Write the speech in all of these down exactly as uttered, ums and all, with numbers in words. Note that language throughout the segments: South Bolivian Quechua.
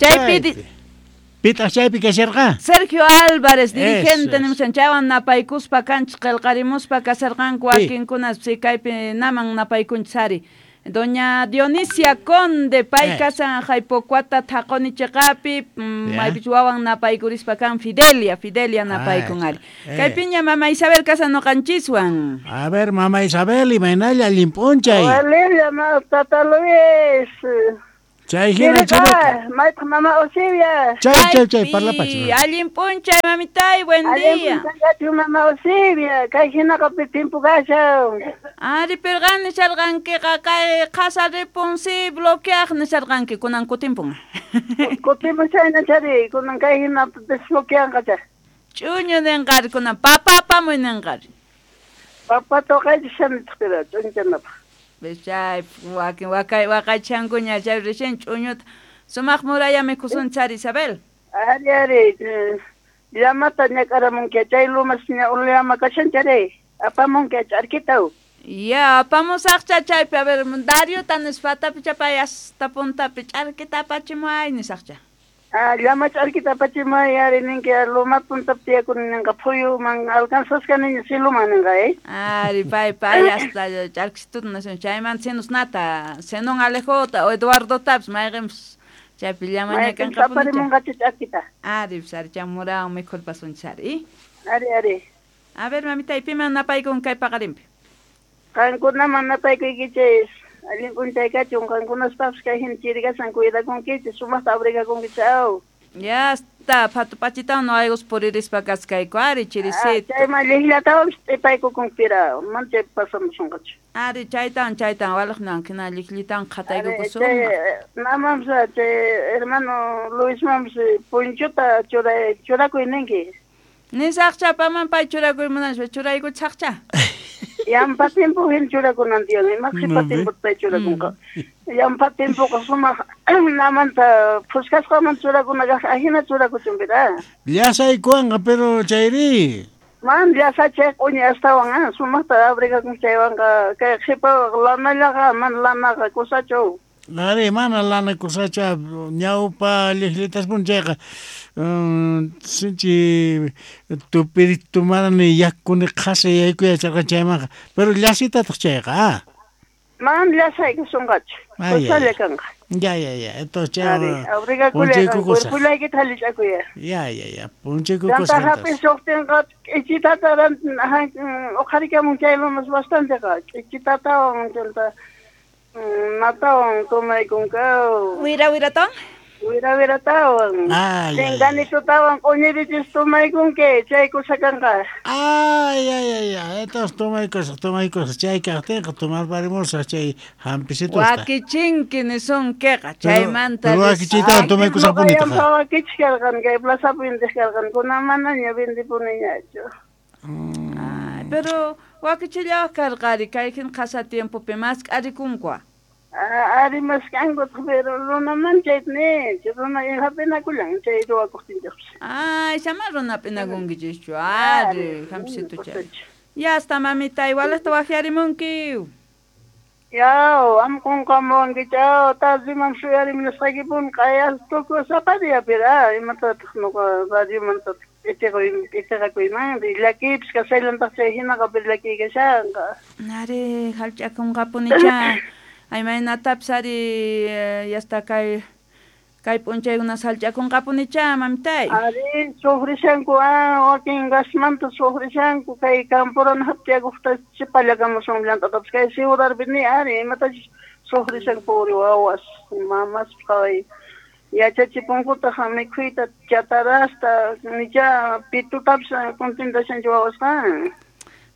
Chaypi Pitaq chaypi kasharqa? Sergio Álvarez, dirigente nimushan chaywan napaykuspa kanchis qillqarimuspa kasharqanku wakinkuna kaypi naman napaykunchis ari. Doña Dionisia Conde, pay kasan Jaipocuata thaqoni chiqapi, maypich wawan napaykurispa kan Fidelia, Fidelia napaykun ari. Kaypiña mama Isabel kasan noqanchiswan. A ver, mama Isabel, imaynalla allin p'unchay. Walilla, tata Luis. Chay hina churaka. Maytaq mama Osibia. Chay, chay, chay, parlapachi. Allin p'unchay, mamitay, buen día. Allin p'unchay, mama Osibia. Kay hinaqa timpu kashan. Ari, pirqan nisharqankiqa kay qhasa ripun si bloqueaq nisharqanki kunan kutimpun. Kutimpun chayna chari, kunan kay hina desbloqueanqa chay. Ch'uñu ninqari kunan papa apamuy ninqari. Papa toqaychishanitaq pira ch'uñuchanapaq. Chay wakin wakay waqaychankuña chay recién ch'uñuta sumaq muraya mikhusun chari Isabel. Ari ari llamata ñak'aramunki chay lumas ña llama kashan chari apamunki ch'arkitaw. Ya apamusaqcha chaypi a ver Dariota nispatapi chapay hasta puntapi ch'arkita apachimuay nisaqcha. Ah, llama ch'arkita apachimuay ari ninki luma puntapi tiyakuni ninqa phuyuman alcanzasqaniña siluman ninqa eh. Ari pay pay hasta ch'arkisituta nación chaymanta sinusnata Zenón Alejota o Eduardo Taps mayqinpis chaypi llama ñakanqapuni. Aparimunqachu ch'arkita. Ari pis ari chamurawan mikhurpasunchis ari. Ari ari. A ver mamita, piman napaykun kay paqarinpi? Qankunaman napaykuykichis. Allin p'unchay kachun qankunaspapis kay hina chirikasan cuidakunkichis sumaqta abrigakunkichis aw. Ya está, patupachitawan noqaykus puririspa kaskayku ari chirisito. Chayman llikllatawanpis t'ipaykukunpira mana chay pasamusunqachu. Ari chaytawan chaytawan walaqnan hina llikllitawan qhataykukusun. Namanpis chay hermano Luismanpis punchuta churay churakuy ninki. Nisaqcha paman pay churakuy munaspa churaykuchaqcha. Yampa timpu hin churakunan tiyan, ima qhipa timpu pay churakunqa. Yampa timpuqa sumaq namanta phuskasqaman churakunaqa ahina churakuchunpira. Llasaykuwanqa pero chayri. Man llasachay q'uñi astawan ah sumaqta abrigakun chaywanqa kay qhipa lanallaqa man lanaqa kusachu. Ari mana lana kusacha ñawpa llikllitaspun chayqa sinchi tupiritumani yakuni qhasa yaykuyacharqa chaymanqa pero llasitataq chayqa ah. Man llasaykusunqachu kusalla kanqa. Ya ya ya entonces chay abrigakulla cuerpulaykita hallich'akuya. Ya ya ya punchaykukusaq. Chanta hap'is lluqtinqa k'ichitata uqharikamun chay lumas bastanteqa k'ichitatawan chanta natawan tomaykunkaw. Wira wiratawan? Wira wiratawan. Chinganitutawan q'uñirichis tomaykunki chay kusa kanqa. Ay ay ay ay entonces tomaykusaq tomaykusaq chay kaqtinqa tomarparimusaq chay hampisitusta. Wakichinki nisunkiqa chaymanta. Pero wakichiytawan tomaykusaqpunitaq. Wakichik karqan kay plazapi vendeq karqan kunan manaña vendepuniñachu. Ay, pero wakichillawaq karqari kay hina qhasa tiempopi mask'arikunku. Ari mask'ankutaq pero runaman chayta ninchik runa hap'inakullan chay ruwakuqtinchikpis. Ay, sama runa hap'inakunkichischu ari hampisitu chay. Ya hasta mamita igual hasta waqyarimunki. Yaw, am qunqamuwankichaw tardiman suyarimunasqaykipuni q'ayas tukuy sapa diapira imatataq nuqa radiomanta k'itiqakuyman llakiypis kashaylantaq chay hinaqa pero llakiy kashanqa. Ari hallch'akunqapunicha. Ay maynatapis ari yasta kay kay p'unchaykuna hallch'akunqapunicha mamitay. Ari sufrishanku ah wakin gasmanta sufrishanku kay camporana haptiyakuqta chipallakamusun llant'atapis kay ciudadpi ni ari imatachus sufrishanku puri wawas mamas qhaway yachachipunkutaq mikhuyta chatarasta nicha pitutapis contentashanchu wawasqa.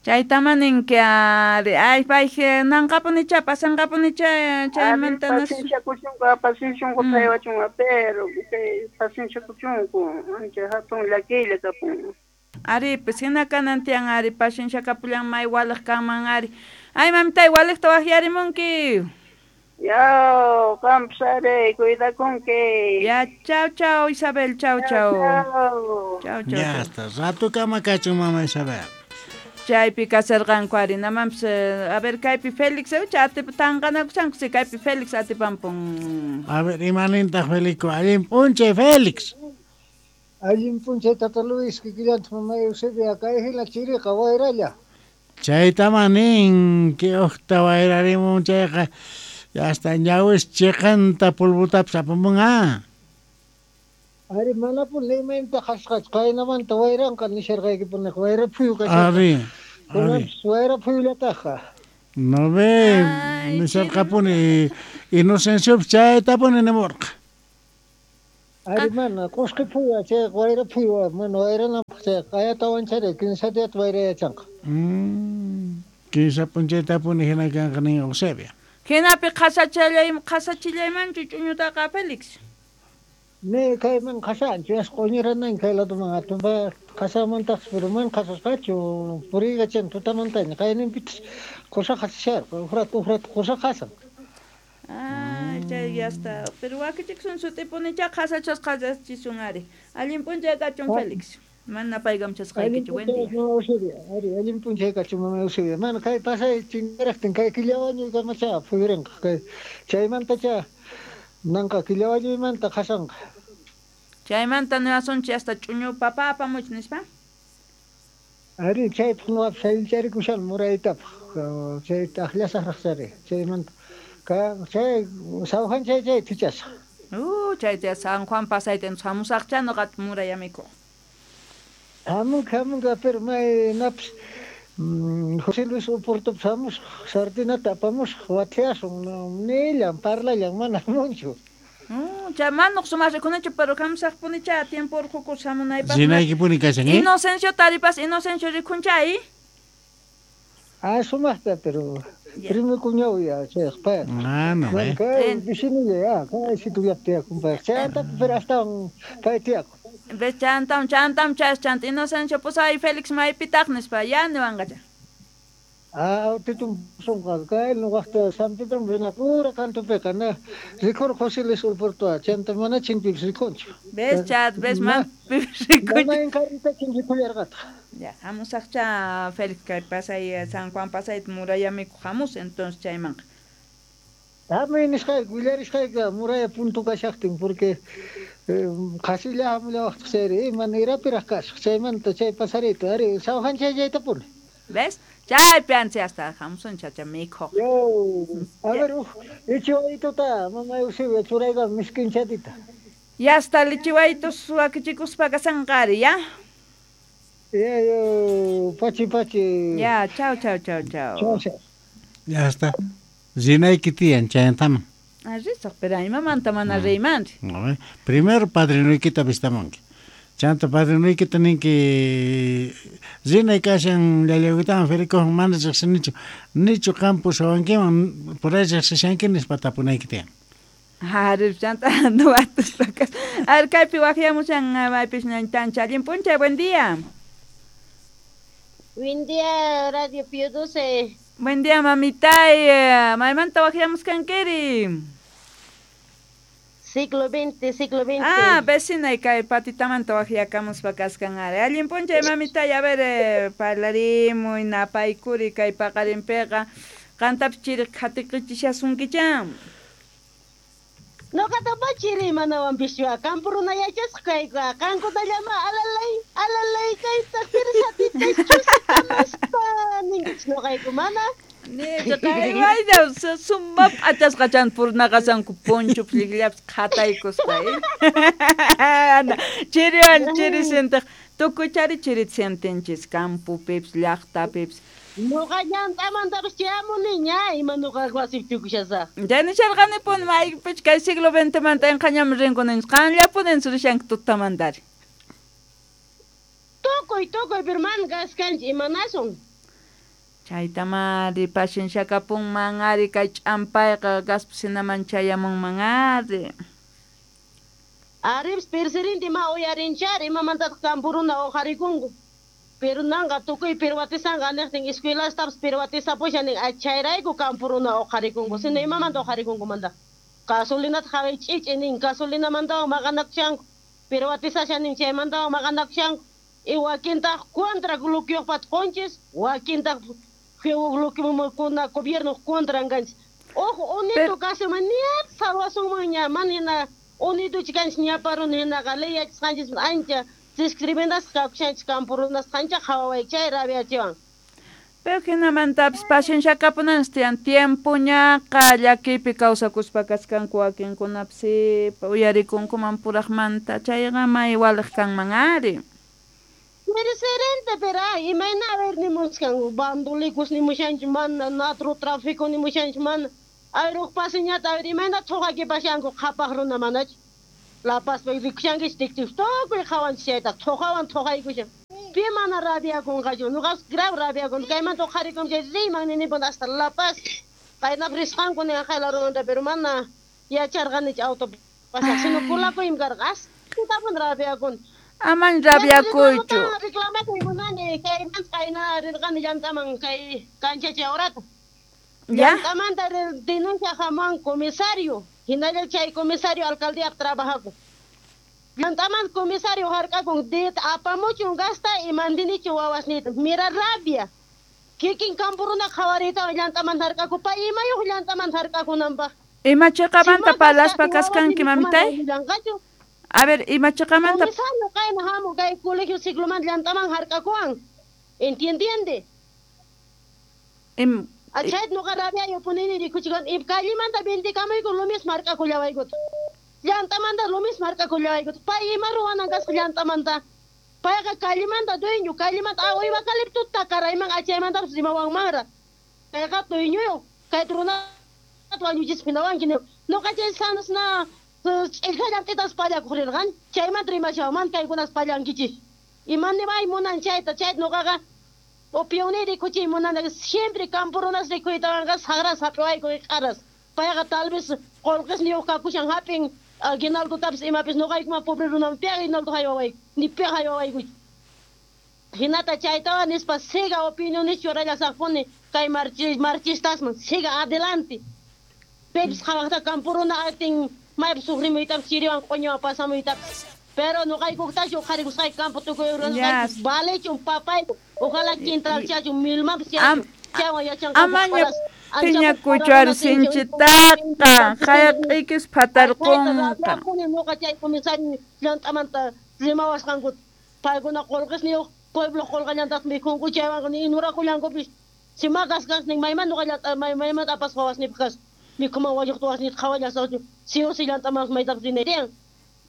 Chaytama ninki ari ay pay nanqapunicha pasanqapunicha chaymanta pacienciakuchunku paciencianku paywachunqa pero kay pacienciakuchunku ancha hatun llakiylla kapun. Ari pues hina kanan tiyan ari pacienciakapullan may walaq kanman ari. Ay mamitay walaqta waqyarimunki. Yaw, qampis ari cuidakunki. Ya, chau chau Isabel, chau chau. Chau chau. Ya hasta rato kama kachun mama Isabel. Chaypi kasarqanku ari namanpis a ver kaypi Félix atip tanqanakushanku si kaypi Félix atipampun. A ver imanintaq Felico allin p'unchay Félix. Allin p'unchay tata Luis kikillantaq mama Eusebia kay hina chiriqa wayralla. Chaytama nin que uqta wayrarimun chayqa hasta ñawis chiqanta polvotapis apamunqa. Ari manapuni imaynata qhasqachu qaynamanta wayranqa nisharqaykipuni wayra phuyu kasharqa. Ari, ari. Wayra phuyullataqa. No ve, nisharqapuni Inocenciopis chaytapuni nimurqa. Ari mana qusqi phuyu chay wayra phuyu mana wayrananpaq chay qayatawan chari kinsa diyata wayrayachanqa. Mm, kinsa p'unchaytapuni hina kanqa nin Eusebia. Hinapi qhasachallay qhasachillaymanchu ch'uñutaqa Félix. Ne kayman qhasanchu yas q'uñiranan kay ladoman atumpa qhasamantaqsi pero mana qhasasqachu puriykachan tutamantaña qayninpitas qusa qhasasharqa uqrata uqrata qusa qhasan. Ay, chay ya está. Pero wakichiksun sut'ipunichá qhasachas qhasachisun ari. Allin p'unchay kachun Félix. Mana paykamchasqaykichu, buen día. Eusebia, ari allin p'unchay kachun mama Eusebia. Mana kay pasay chinkaraqtin kay killawañuykamachá phuyurinqa kay chaymantacha nanqa killawañuymanta qhasanqa. Chaymanta niwasunchik hasta ch'uñu papa apamuch nispa. Ari chaypaq nuqapis sayllcharikushan muraytapaq chayta aqllasaqraq chari chaymanta ka chay San Juan chay chay tichasaq. Uh, chayta San Juan pasayta hamusaqcha nuqata muray amikuq. Hamunqa hamunqa pero may napis José Luis Oportopis hamusaq sardinata apamusaq wathiasun nillan parlallan mana hamunchu. Mm, chay manuq sumaq rikunachu pero hamusaqpunicha tiempo urqukus hamunaypaq. Rinaykipuni kashan, eh? Inocencio taripas Inocencio rikuncha eh? Ah, sumaqta pero primo cuñado ya chayqa pay. Ah, no, eh. Kay vecinolla ya, kay situllapi tiyakun payqa. Chayanta pero astawan pay tiyakun. Ves chantam chantam chas chant Inocencio pusay Félix maypitaq nispa ya niwanqacha. Ah, titum sunqa kay nuqaqta San Pedro rinapura kantupiqa na rikur José Luis Oportoa chanta mana chinpipis rikunchu. Ves chat ves man rikunchu. Mana inkarritachin rikullarqataq. Ya hamusaqcha Félix kay pasay San Juan pasay muralla mikuq hamus entonces chaymanqa. Hamuy nisqayki willarisqayki muralla punto kashaqtin porque qhasilla hamullawaqtaq chayri mana irapiraq kasaq chaymanta chay pasariyta ari San Juan chay chaytapuni. ¿Ves? Chaypi ansi hasta hamusun chacha mikhuq. A ver, lichiwaytuta mama Eusebia churayqa miskinchatita. Ya hasta lichiwaytus wakichikuspa kasanqa ari, ya? Ya, yo, pachi pachi. Ya, chao, chao, chao, chao. Chao, chao. Ya está. Rinayki tiyan chayantaman. Ah, risaq, pero imamanta mana riymanri. Primero padrinoykita vistamunki. Chanta padrinoykita ninki rinay kashan llallaykitaman Felicowan mana riqsinichu nichu qam pusawankiman por ahí riqsishanki nispa tapunayki tiyan. Ari chanta nuwatuspa kas. Ari kaypi waqyamushan maypis ñantancha allin p'unchay, buen día. Buen día, Radio Pío doce. Buen día, mamitay. Maymanta waqyamusqankiri. Siglo veinte, siglo veinte. Ah, vecina kay patitamanta waqyakamuspa kasqan ari. Allin p'unchay, mamitay. A ver, eh, parlarimuy, napaykuri kay paqarinpiqa. Qantapis chiri qhatiqichishasunkicha. Noqataqa chiri manawanpischu kampu runa yachasqa kayku qankunallama alalay alalay kaytaq pirsatita chusitamaspa ninkichis noqayku mana. Nichaqaymayna suma p'achasqa chan purnaqasanku poncho p'llikllapis qhataykuspa eh. Chiriwan chiri sintaq tukuy chari chirita sintinchis kampupipis llaqtapipis. Noqa llant'amantapis chayamuniña ima noqa wasipi tukushasaq. Chay nisharqanipuni maypichu kay siglo veintemanta inqañaman rinku ninchis qanllapunin rishanki tutamantari. Tukuy tukuy pero mana kaskanchik imanasun. Chaytamari pacienciakapunman ari kay ch'ampayqa gaspis hinaman chayamunman ari. Aripis presidente ma uyarinchari imamantataq kampuruna uqharikunku. Pero nanqa tukuy pirwatisanqa niqtin escuelastapis pirwatisapushan nin chayrayku kampuruna uqharikunku sino imamanta uqharikunkumanta. Gasolinata qhaway ch'ich'i nin gasolinamantawan maqanakushanku pirwatisashan nin chaymantawan maqanakushanku. Y wakintaq contra bloqueoqpat qonchis, wakintaq bloqueokuna gobierno contra kanchis. Ojo, unito kasuman ña salvasunman ña manina unito chikanchis ñaparun hinaqa ley yachasqanchis ancha discriminasqa kakushanchis campo runas ancha qhawaway chay rabiachiwan. Pero hinamantapis paciencia kapunanchis tiyan tiempo ñaqa llakiypi kawsakuspa kaskanku wakinkunapis uyarikunkuman puraqmanta chayqa may waliq kanman ari. Presidente, pero ay, imayna a ver nimuskan bandulikus nimushanchis mana narcotráfico nimushanchis mana ayruq pasiñata a ver imayna thuqakipashanku qhapaq runa manachu La Paz rikushankichis tiktik tukuy qhawanchis chayta thuqawan thuqaykushan pi mana rabiakunqachu nuqas grave rabiakun kaymanta uqharikun chay riyman ninipun hasta La Paz qaynap risqanku ninqa larumanta pero mana yacharqanichu auto pasaq sino kulakuymi karqa astapun rabiakun. Aman rabiakuychu. Reclamakuy munani kaymanta qayna rirqani llantaman kay kanchacha horata. Ya. Llantamanta denuncia haman comisario hinalla chay comisario alcaldía trabajakun. Llantaman comisario harkakun det apamuchun gasta y mandinichu wawasnita. Mira rabia. Kikin campo runa qhawariytawan llantaman harkakun pay imayuq llantaman harkakunanpaq. Ima chiqamanta parlaspa kaskanki mamitay? A ver, ima chiqamanta comisario kayna hamu kay colegio cicloman llantaman harkakuwan. ¿Entiende? Im Achay nuqa rabia punini rikuchikan im callimanta vendikamuyku lo mismo harkakullawaykuta. Llantamanta lo mismo harkakullawaykuta. Pay ima ruwanan kasqa llantamanta. Payqa callimanta dueño, callimanta ah uywa caliptuta karayman achaymantapas rimawanmanra. Payqa dueñoyuq kay runata wañuchispa hinawanki nuqa chay sanasna ch'illqallantitas pallakuq rirqani chaymanta rimashawanman kaykunas pallankichis. Imanimay munan chayta chayta nuqaqa opinión rikuchiy munani siempre campo runas rikuytawanqa saqras hap'iwayku q'aras. Payqa tal vez qullqisniyuq kakushan hap'in aguinaldotapis imapis nuqaykuman pobre runaman pi aguinaldo haywawayku ni pi haywawaykuchu. Hinata chaytawan nispa siga opiniones churallasaqpuni kay marchi marchistasman siga adelante. Pepis qhawaqta campo runa atin maypis sufrimuytapis chiriwan q'uñuwan pasamuytapis. Pero nuqaykuktachu uqharikusqayku campo tukuy runasqayku valechun papayku ojalá quintralchachun milmanpis chayachun chaywan yachanqaku Amaña phiñakuychu ari sinchitaqa hayaq'ikis phatarqunqa. Nuqa chay comisario llant'amanta rimawasqankuta paykuna qullqisniyuq pueblo qullqallantataq mikhunku chaywanqa ni inurakullankupis si makasqasnin mayman nuqa llant'a maymanta apasqa wawasnipaq kasqa mikhuman wañuqta wasnita qhawallasaqchu si o si llant'aman maytapis rinay tiyan.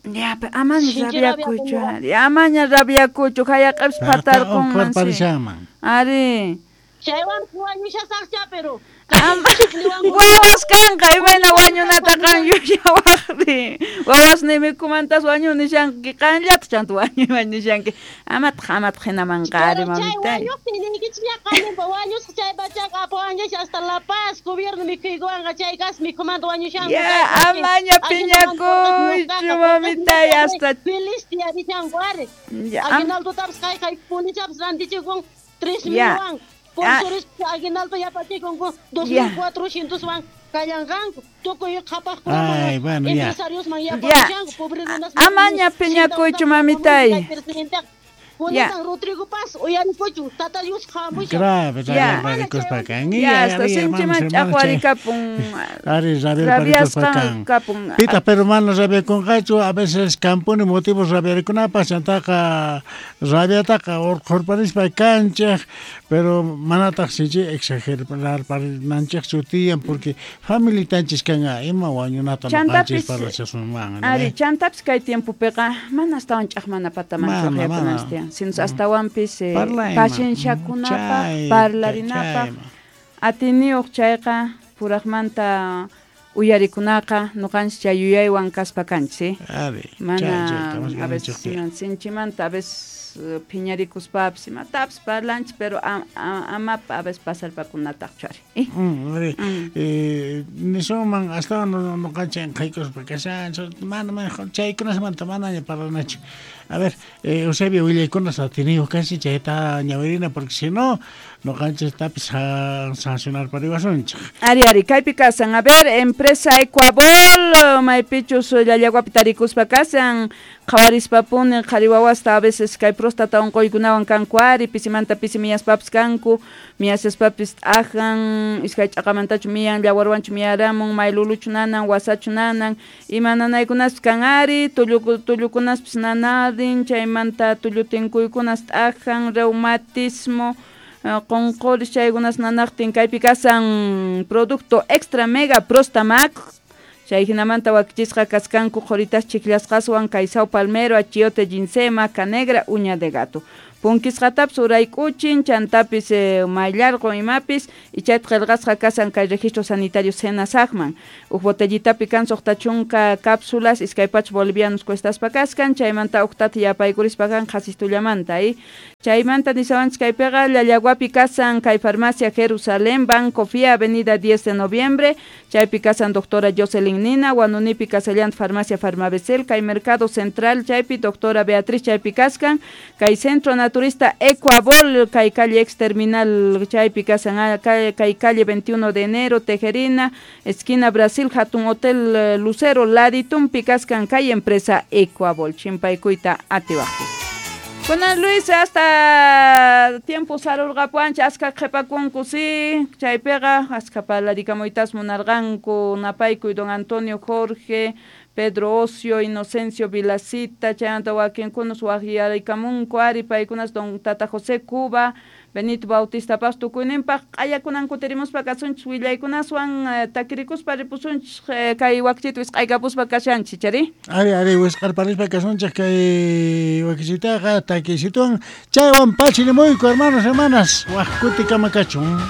Ya, amaña rabiakuychu ari, amaña rabiakuychu hayaq'ipis phatarqunman ari. Chaywan wañushasaqcha pero wawas kanqa imayna wañunata qan yuyawaqri wawas nimikumantas wañu nishanki qanllata chanta wañuyman nishanki amataq amataq hinamanqa ari mamitay. Wañuqtin niykichis qaninpa wañusqa chay pachaqa apawanchis hasta La Paz gobierno mikhuykuwanqa chay kas mikhumanta wañushanku. Ya, amaña phiñakuychu mamitay hasta feliz tiyarishanku ari. Aguinaldotapis kay kay pulichapis rantichikun tres milwan. Por aguinaldo yapachikunku dos mil cuatrocientoswan kallanqanku tukuy qhapaqkunaman empresariosman yapachishanku pobre runas. Amaña phiñakuychu mamitay. Kunan Rodrigo Paz uyarikuchu tata Dios hamushan. Grave rabiarikuspa kan. Ya, hasta sinchiman ch'aqwarikapun. Ari rabiarikuspa kan. Pita pero mana rabiakunqachu a veces kampuni motivos rabiarikunapaq chantaqa rabiataqa urqhurparispa kanchej pero manataq sinchi exagerarparinanchejchu tiyan porque familitanchis kanqa ima wañunata nuqanchis parlashasunman. Ari chantapis kay tiempopiqa mana astawan ch'aqmana patamanchu uqyapunanchis tiyan. Sino astawanpis eh, pacienciakunapaq parlarinapaq atiniyuq chayqa puraqmanta uyarikunaqa nuqanchis chay yuyaywan kaspa kanchis eh? Mana a veces sinchimanta a veces phiñarikuspapis imatapis parlanchis pero amapa a veces pasarpakunataqchu ari. Eh? Mm, eh, nisunman astawan nuqanchis inqaykuspa kashanchis mana mana chaykunasmanta manaña parlanachu. A ver, eh, Eusebio willaykunas atiniyuq kanchis chayta ñawirina porque si no nuqanchis tapis sancionarpariwasunchik. Ari ari kaypi kasan a ver empresa empresa Ecuabol, maypichus llallaguapi tarikuspa kasan, qhawarispapuni qhari wawasta a veces kay próstata unquykunawan kanku ari, pisimanta pisi miyaspapis kanku, miyasaspapis t'ajan, iskay ch'aqamantachu miyan, llawarwanchu miyaramun, mayluluchu nanan, wasachu nanan, ima nanaykunaspis kan ari, tullu tullukunaspis nanarin, chaymanta tullu tinkuykunas t'ajan, reumatismo, qonqoris chaykunas nanaqtin kaypi kasan producto extra mega Prostamac, chay hinamanta wakichisqa kaskanku qhuritas chiklasqaswan kay sao palmero, achiote, ginseng, maca negra, uña de gato. Punkisqatapis urayk'uchin, chantapis eh, mayllarqun imapis, y chayta qillqasqa kasan kay registro sanitario Senasajman. Uj botellitapi kan suqta chunka cápsulas, iskay pachak bolivianos cuestaspa kaskan, chaymanta uqtata yapaykurispa kan qhasistullamanta, y chaymanta nisawanchis kaypiqa Llallaguapi kasan kay farmacia Jerusalén, Banco Fía, Avenida diez de Noviembre, chaypi kasan doctora Jocelyn Nina, Huanunipi kasallanta farmacia Farmabecel, kay Mercado Central, chaypi doctora Beatriz chaypi kaskan, kay Centro Naturista Ecuabol, kay calle ex terminal chaypi kasan, kay calle veintiuno de enero, Tejerina, esquina Brasil, Hatun Hotel Lucero, Laditumpi kaskan kay empresa Ecuabol, chimpaykuyta atiwaqchis. Bueno, Luis, hasta tiempo sarurqapuanchik aska qhipakunku sí, chaypiqa aska parlarikamuitas munarqanku napaykuy don Antonio Jorge, Pedro Ocio, Inocencio Vilacita, chaymanta wakinkunas waqyarikamunku ari paykunas don Tata José Cuba, Benito Bautista Paz tukuyninpaq q'ayakunan kutirimuspa kasunchis willaykunaswan takirikuspa ripusunchis kay wakichita wisq'aykapuspa kashanchis chari? Ari, ari, wisq'arparispa kasunchis kay wakichitaqa takisituwan chaywan pachinimuyku hermanos, hermanas, waq kutikama kachun.